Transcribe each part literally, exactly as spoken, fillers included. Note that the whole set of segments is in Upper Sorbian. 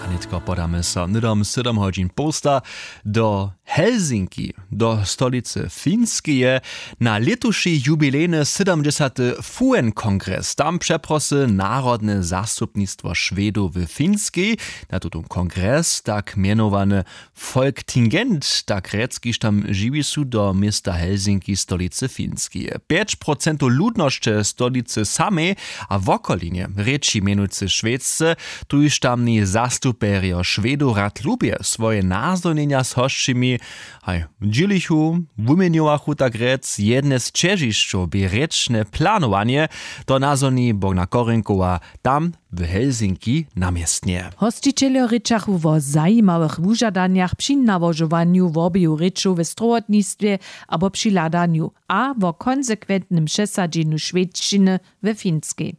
A nětko podamy so hnydom sydom hodźin połsta do Helsinki, do stolicy Finskeje, na lětuši jubilejny sydomdźesaty F U N kongres. Tam přeprosy narodne zastupnistwo Šwedow w Finskej na tutón kongres, tak mjenowany Folktingent, tak rjec, kiž tam žiwi su, do města Helsinki, stolicy Finskeje. Pjeć procentow ludnosće stolicy samej a wokolinje rěči mjenujcy Šwedce, tuž tamni zastuperjo Šwedow rad lubje swoje nazhonjenja z hosćimi haj dźělichu, wuměnjowachu, tak rjec. Jedne z ćežišćow bě rěčne planowanje, to nazhoni Bogna Korenkowa tam w Helsinki na městnje. Hosćićeljo rěčachu wo zajimawych wužadanjach při nałožowanju wobeju rěčow we strowotnistwje abo při hladanju a wo konsekwentnym přesadźenju šwedšćiny we Finskej.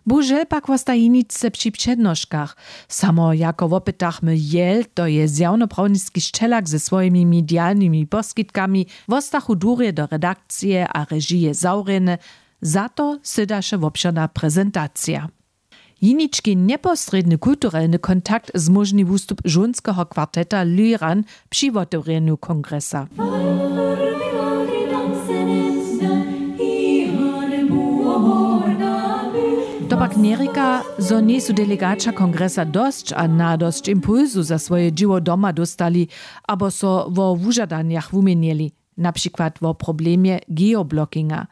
Bohužel pak wosta jeničce při přednoškach. Samo jako wopytachmy jel, to je zjawnoprawniski šćelak ze swojimi medialnymi poskitkami, wostachu durje do redakcije a režije zawrjene. Za to sydaše wobšěrna prezentacija. Jenički njeposrědny kulturelny kontakt zmóžni wustup žónskeho kwarteta Lyran při wotewrjenju kongresa. To pak njerěka, zo njejsu delegaća kongresa dosć a nadosć impulsu za swoje dźěło doma dóstali abo so wo wužadanjach wuměnjeli, na přikład wo problemje geoblockinga.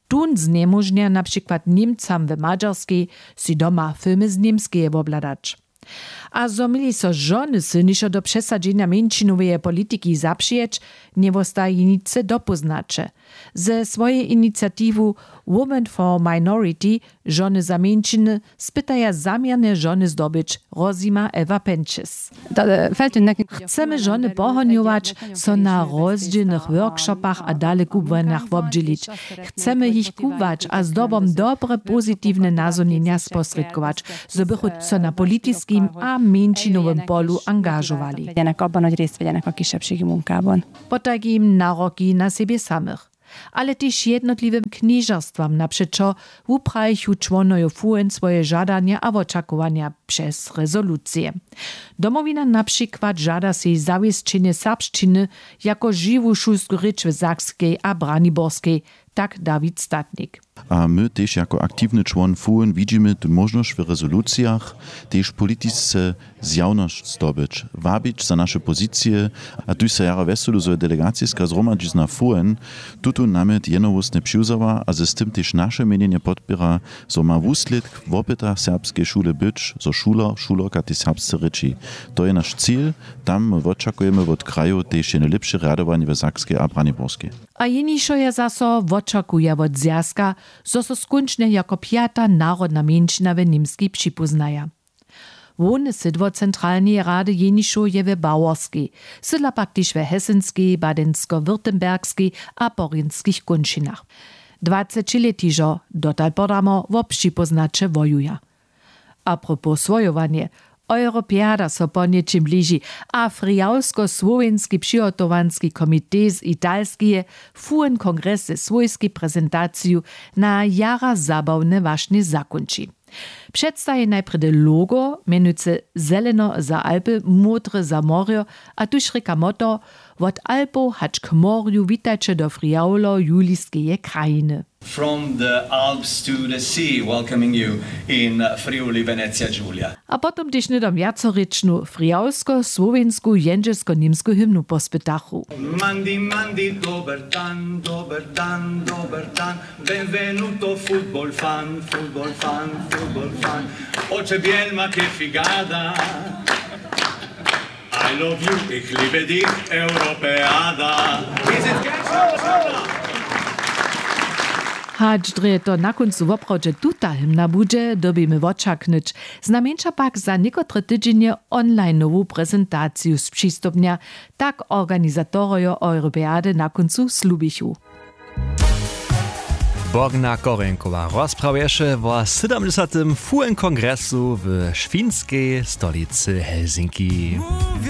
Tón znjemóžnja na přikład Němcam w Madźarskej, sej doma filmy z Němskeje wobhladać. A zo měli so žony sylnišo do přesadźenja mjeńšinoweje politiki zapřijeć, njewosta jeničce dopóznaće. Ze swojej iniciatiwu Women for Minority, žony za mjeńšiny, spytaja zaměrnje žony zdobyć, rozjima Ewa Penčes. Chcemy žony pohonjować, so na rozdźělnych workshopach a dalekubłanjach wobdźělić. Chcemy jich kubłać a zdobom dobre pozitiwne nazhonjenja sposrědkować, zo bychu so na politiskim a mjeńšinowym polu angažowali. Potajkim naroki na sebje samych, ale tež jednotliwym knježerstwam napřećo, wuprajichu čłonojo F U N swoje žadanja a wočakowanja přez rezolucije. Domowina na přikład žada sej zawěsćenje serbšćiny jako žiwu šulsku rěč w Sakskej a Braniborskej, tak Dawid Statnik. A my tež jako aktiwny čłon F U N widźimy tu móžnosć w rezolucijach, tež politisce zjawnosć zdobyć, wabić za naše pozicije. A tuž so jara wjeselu, zo je delegaciska zhromadźizna F U N tutón namjet jednohłósnje přiwzała a z tym tež naše měnjenje podpěra, zo ma wuslědk wopyta serbskeje šule być, zo šuler, šulerka tež serbsce rěči. To je naš cil. Tam my wočakujemy wot krajow tež jedne lěpše rjadowanje w Sakskej a Braniborskej. A jenišo je zaso wočakuja wot zwjazka, zo so skónčnje jako pjata narodna mjeńšina w Němskej připóznaja. Hłowne sydło centralneje rady jenišow je w Baworskej, sydla pak tež w Hesenskej, Badensko-Württembergskej a Porjenskich kónčinach. Dwacećilětižo, dotal podamo, wo připóznaće wojuja. Apropos swojowanje, Europeada so ponjećim bliži a Frijawsko-słowjenski přihotowanski komitej z Italskeje F U N kongres ze swójskej prezentaciju na jara zabawne wašnje zakónči. Předstaji najprjedy logo, mjenujcy zeleno za Alpy, módre za morjo, a tuž rěka motto: Wot Alpow hač k morju witajće do Frijawlo-Juliskeje krajiny. From the Alps to the sea, welcoming you in Friuli Venezia Giulia. A potom tež hnydom wjacorěčnu frijawsko-słowjensku jendźelsko-němsku hymnu pospytachu. Mandi, mandi, dober dan, dober dan, dober dan. Benvenuto, football fan, football fan, football fan. Oče biel ma, che figata. I love you, ich liebe dich, Europeada. Is it catch? Hač drje to na kóncu woprawdźe tuta hymna budźe, dyrbimy wočaknyć. Znajmjeńša pak za někotre tydźenje onlineowu prezentaciju spřistupnja, tak organizatorojo Europeady na kóncu slubichu. Bogna Korenkowa rozprawješe wo sydomdźesatym F U N kongresu w šwinskej stolicy Helsinki.